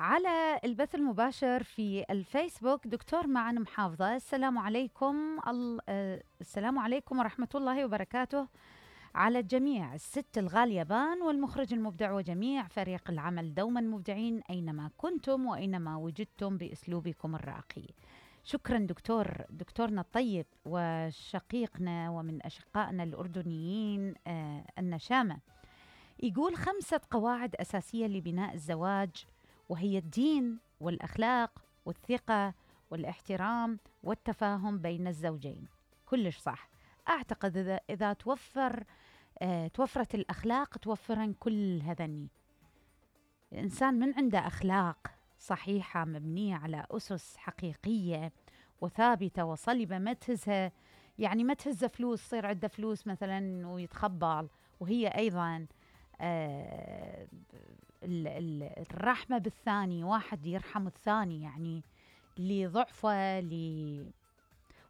على البث المباشر في الفيسبوك دكتور معن محافظة. السلام عليكم السلام عليكم ورحمة الله وبركاته على الجميع. الست الغاليبان والمخرج المبدع وجميع فريق العمل دوما مبدعين أينما كنتم وأينما وجدتم بأسلوبكم الراقي. شكرا دكتورنا الطيب وشقيقنا ومن أشقائنا الأردنيين النشامة. يقول 5 قواعد أساسية لبناء الزواج، وهي الدين والأخلاق والثقة والاحترام والتفاهم بين الزوجين. كلش صح. أعتقد إذا توفرت الأخلاق توفرن كل هذني. الإنسان من عنده أخلاق صحيحة مبنية على أسس حقيقية وثابتة وصلبة، ما تهزها، يعني ما تهز فلوس، صير عنده فلوس مثلا ويتخبل، وهي أيضا الرحمة بالثاني، واحد يرحم الثاني، يعني اللي ضعفه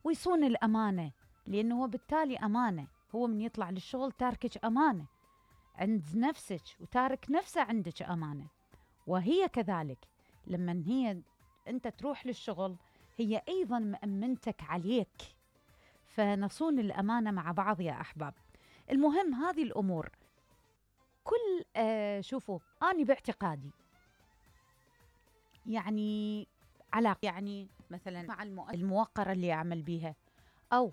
ويصون الأمانة، لأنه هو بالتالي أمانة. هو من يطلع للشغل تاركك أمانة عند نفسك وتارك نفسه عندك أمانة، وهي كذلك لما أنت تروح للشغل هي أيضا مأمنتك عليك. فنصون الأمانة مع بعض يا أحباب. المهم هذه الأمور كل شوفوا، أنا باعتقادي يعني علاقة، يعني مثلا مع الموقرة اللي أعمل بيها، أو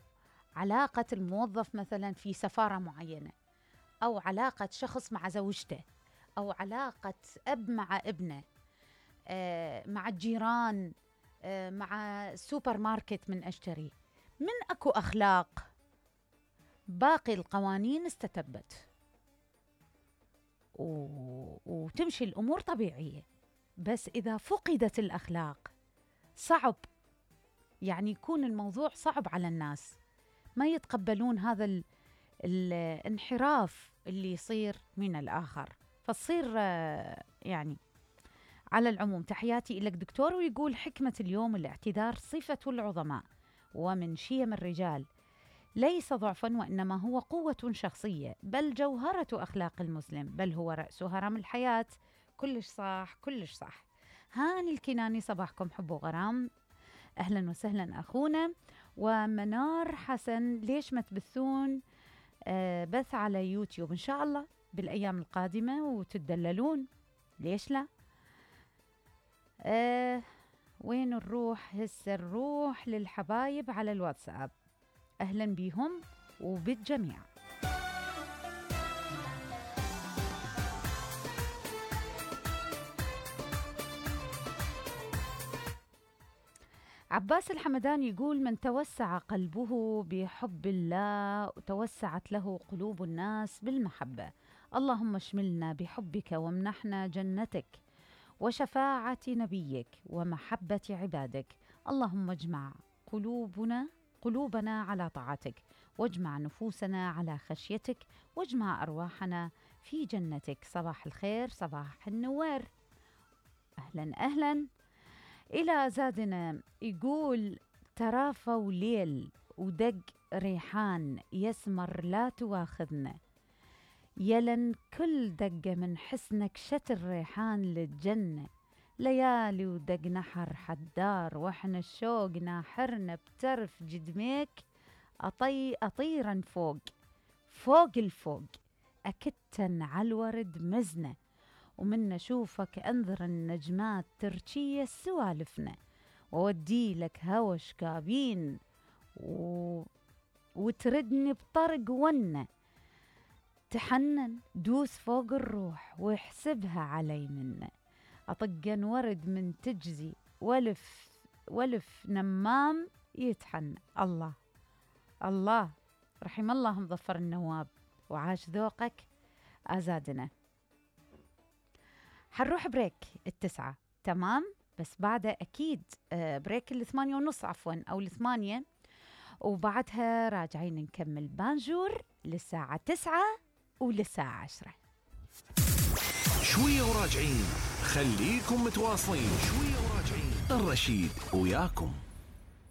علاقة الموظف مثلا في سفارة معينة، أو علاقة شخص مع زوجته، أو علاقة أب مع ابنه، مع الجيران، مع السوبر ماركت من أشتري، من أكو أخلاق باقي القوانين استتبت وتمشي الأمور طبيعية. بس إذا فقدت الأخلاق صعب، يعني يكون الموضوع صعب على الناس، ما يتقبلون هذا الانحراف اللي يصير من الآخر، فتصير يعني. على العموم تحياتي إليك دكتور. ويقول حكمة اليوم: الاعتذار صفة العظماء ومن شيم الرجال، ليس ضعفا وإنما هو قوة شخصية، بل جوهرة أخلاق المسلم، بل هو رأس هرم الحياة. كلش صح كلش صح. هاني الكناني، صباحكم حب وغرام، أهلا وسهلا أخونا. ومنار حسن، ليش ما تبثون بث على يوتيوب إن شاء الله بالأيام القادمة وتدللون، ليش لا؟ وين نروح هسه؟ نروح للحبايب على الواتساب. أهلا بيهم وبالجميع. عباس الحمداني يقول: من توسع قلبه بحب الله توسعت له قلوب الناس بالمحبة. اللهم اشملنا بحبك وامنحنا جنتك وشفاعة نبيك ومحبة عبادك. اللهم اجمع قلوبنا على طاعتك، واجمع نفوسنا على خشيتك، واجمع أرواحنا في جنتك. صباح الخير، صباح النوار. أهلا أهلا. إلى زادنا يقول: ترافوا ليل ودق ريحان يسمر لا تواخذنا، يلن كل دقة من حسنك شتر ريحان للجنة، ليالي ودق نحر حدار واحنا الشوق ناحرنا بترف جدميك، أطيرا فوق الفوق أكتن على الورد مزنة، ومن نشوفك أنظر النجمات ترشية سوالفنا، وودي لك هوى شكابين وتردني بطرق ونة، تحنن دوس فوق الروح واحسبها علي منه، أطقن ورد من تجزي ولف نمام يتحنى. الله الله، رحم الله مظفر النواب وعاش ذوقك أزادنا. حنروح بريك 9 تمام، بس بعدها أكيد بريك 8:30 عفوا أو 8، وبعدها راجعين نكمل بانجور للساعة 9 وللساعة 10. شوية وراجعين، خليكم متواصلين. شوية وراجعين، الرشيد وياكم.